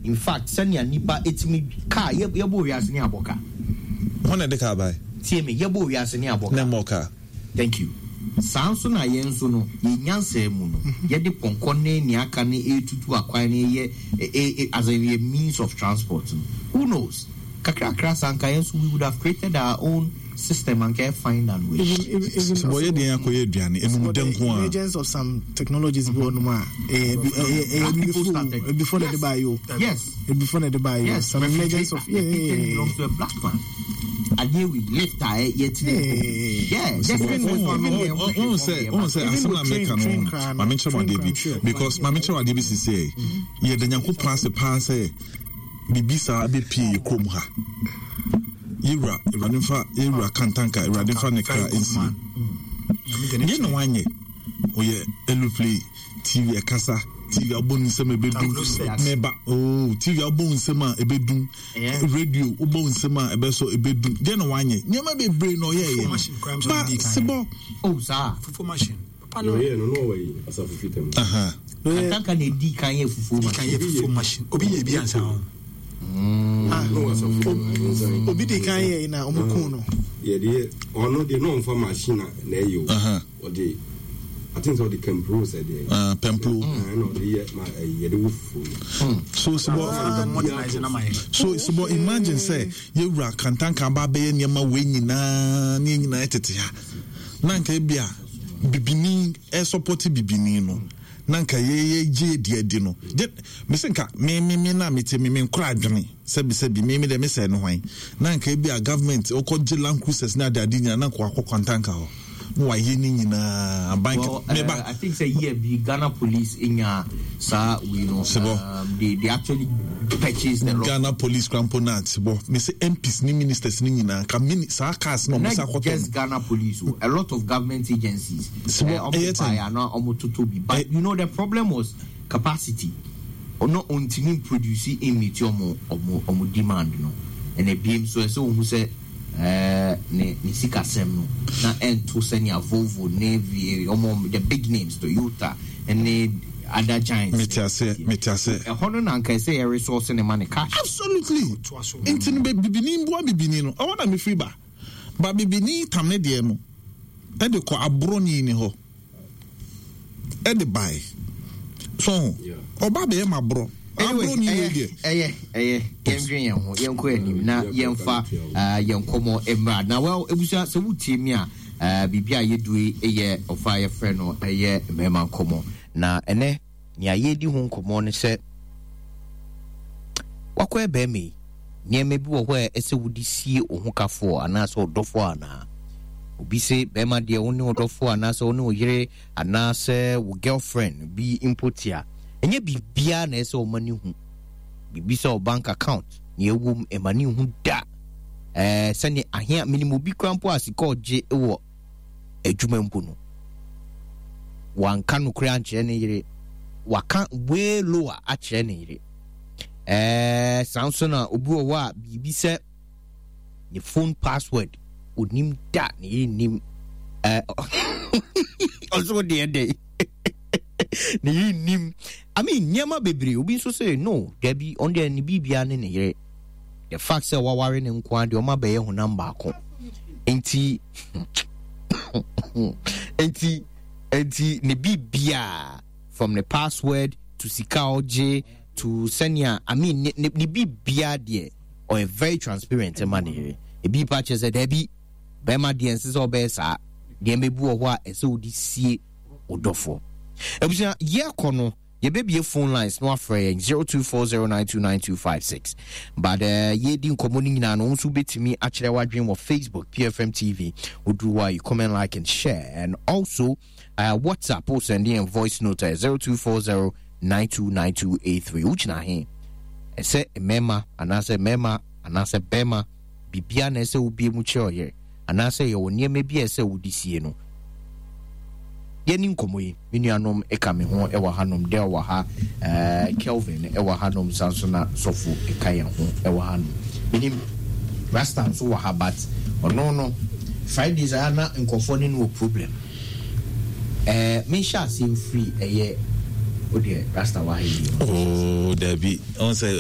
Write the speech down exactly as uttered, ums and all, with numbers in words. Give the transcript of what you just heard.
In fact, sɛnea nipa etimi car yɛ yɛbɔ wiase ne abɔ car. Wɔn na ɛde car bae. Tie me, yɛbɔ wiase ne abɔ Na car. mmɔ car. Thank you. Saa nso na yɛn nso no, yɛn nyansa mu no, yɛde pɔnkɔ ne nea aka ne etutu akwan ne yɛ e, e, as a means of transport no. Who knows? Kakrakra saa nka yɛn nso we would have created our own system anka find and way. Even even even Sibɔ yɛ deɛ akɔyɛ aduane enum dɛ nko a. Emergence of some technologies bi wɔ nom a ɛyɛ ɛyɛ Black ɛyɛ people started. before before na de ba yi o. Yes. Before na de ba yi o. Yes. Some emergence of yeah The yeah patent yeah. belongs to a black man. Adeɛ wi lift a yɛtena Yeah. Yeah, just Sibɔ even with wɔn even wɔn sɛ wɔn sɛ asɛm na mɛka no, maame nkyerɛ mu adeɛ bi, because maame nkyerɛ mu adeɛ bi sisi yɛ, yɛda Nyankopɔn ase paa sɛ biribi saa bɛpie yɛ kurom ha. Yɛwura, Awurade nfa yɛwura Kantanka, Awurade nfa ne kra nsie. Deɛ na wanyɛ, ɔyɛ aeroplane, T V ɛkasa, T V abɔ ne nsɛm ɛbɛdum mɛba oh T V abɔ nsɛm a ɛbɛdum, radio wobɔ nsɛm a ɛbɛsɔ ɛbɛdum. Deɛ na wanyɛ, nneɛma bebree na ɔyɛɛyɛ ba sebɔ. Oh, saa. Fufuo machine. Papa no. Ɔyɛ no na ɔwɔ yi asafo fitam. Aha. Kantanka na edi kan yɛ fufuo Di kan machine. yɛ fufuo machine. Obi yɛ bi ansa ho. Na ɔwɔ asafo fitam. Obi di kan yɛ na ɔmo kun no. Yɛde yɛ, ɔno deɛ na ɔmfa machine a na ɛyɛ o. Aha. Ɔde, I think sɛ ɔde kɛmpro sɛ deɛ. Ah, pɛmplo. Ɛna ɔde yɛ ma ɛyi yɛde wo fufuo no. So sebɔ Modernize na ma yɛ. So sebɔ, imagine sɛ yɛwura Kantanka aba abɛyɛ nneɛma wei nyinaa ne yɛn nyinaa tete ha na nka ebi a bibini ɛsɔpɔte bibini no na nka yɛyɛ gye adi adi no gye mese nka me me me na mete me me nkora adwene sɛbi sɛbi me me deɛ mesɛ no hwan na nka ebi a government ɔkɔ gye Land Cruisers ne ade ade nyinaa na nka wakɔ Kantanka hɔ na wayɛ ne nyinaa aban. Well, meba. uh, I think say year bi Ghana Police nya saa we no. Sebo. Um, they they actually purchased the lot. Ghana Police krampo na sebɔ me sɛ M Ps ne ministers ne nyinaa ka mini saa cars na ɔmo sa Not akɔtɔ just no. Ghana Police, oh, a lot of government agencies. Sebo, uh, ɛyɛ ɔmo buy ten. ana ɔmo toto bi. But Eh. you know the problem was capacity. Ɔno ontimi produce meet ɔmo ɔmo ɔmo demand no. Ɛna ebiem so ɛsɛ ohun sɛ ɛɛ ne ne sikasɛm no na ɛnto sɛnea Volvo ne V ɔmo, the big names, Toyota ɛne other giants. Mete aseɛ, mete aseɛ. Ɛhɔ no na nka ɛsɛ yɛ resource ne ma ne cash. Absolutely. Toa so. Nti no bɛ bibini mboa bibini no, ɔwɔ na mefiri ba ba bibini tam ne deɛ no ɛde kɔ aborɔni ni hɔ ɛde bae so Yeah. ɔba bɛyɛ ma borɔ Anyway, aborɔni wei ɛyɛ deɛ. ɛyɛ ɛyɛ yɛndwen yɛn ho, yɛnkɔ anim na yɛmfa uh, yɛn nkɔmmɔ mmra. Na well, ebusua, sɛ wotie mi a, uh, biribi a yɛdue yɛ ɔfa a yɛfrɛ no ɛyɛ mmarima nkɔmmɔ, na ɛnɛ nea yɛdi ho nkɔmmɔ ne sɛ wakɔyɛ bɛrima yi, nneɛma bi wɔ hɔ a ɛsɛ wode sie wo ho kafoɔ anaasɛ ɔdɔfoɔ, anaa obi sɛ bɛrima deɛ, wo ne ɔdɔfoɔ anaasɛ wo ne wo yere anaasɛ wo girlfriend bi mpo te a, ɛnyɛ biribiara na ɛsɛ ɔma ne hu biribi sɛ wo bank account nea ɛwɔ mu, ɛma ne hu da. ɛɛ sɛne ahea menim obi kora mpo a sika ɔgye wɔ adwuma mpo no, wanka nokorɛ ankyerɛ ne yere, waka way lower akyerɛ ne yere. ɛɛ saa nso na obi wɔ hɔ a biribi sɛ ne phone password onim da, ne yere nim. ɛɛ ɔso deɛ dɛ ne yere nim. I mean, nneɛma bebree. Obi nso sɛ no, dabi, ɔno deɛ ne biribia ne ne yere, the fact sɛ waware ne nko ara deɛ, ɔma bɛyɛ honam baako, nti nti nti ne biribia from the password to sika ɔgye to sɛnea, I mean, ne ne ne biribia deɛ, ɔyɛ very transparent ma ne yere. Ebi pa kyerɛ sɛ dabi, bɛrima deɛ nsɛ sɛ ɔbɛyɛ saa. Nneɛma bi wɔ hɔ a ɛsɛ wode sie wo dɔfoɔ. Abusua, yɛkɔ no, yɛbɛbie phone lines no afrɛ yɛn zero two four zero nine two nine two five six, but uh, yɛdi nkɔmmɔ no nyinaa no, wo nso wobɛtumi akyerɛ w'adwene wɔ Facebook, P F M T V. Woduru hɔ a, you comment, like and share, and also uh, WhatsApp wo send yɛn voice note uh, zero two four zero nine two nine two eight three. Wogyina he ɛsɛ mmarima anaasɛ mmarima anaasɛ bɛrima biribia na ɛsɛ wobie mu kyerɛ ɔyere, anaasɛ yɛwɔ nneɛma bi a ɛsɛ wode sie no? Yɛne nkɔmmɔ yi, me nuanom ɛka me ho ɛwɔ hanom, Del wɔ ha, uh, Kelvin ɛwɔ hanom, san so na Sɔfo ɛka yɛn ho ɛwɔ hanom. Menim Rasta nso wɔ ha, but ɔno no Fridays a na nkɔfoɔ ne no wɔ problem. ɛɛ menhyɛ aseɛ mfiri ɛyɛ o deɛ Rasta wɔ ha yi. Oh, dabi, ɔn sɛ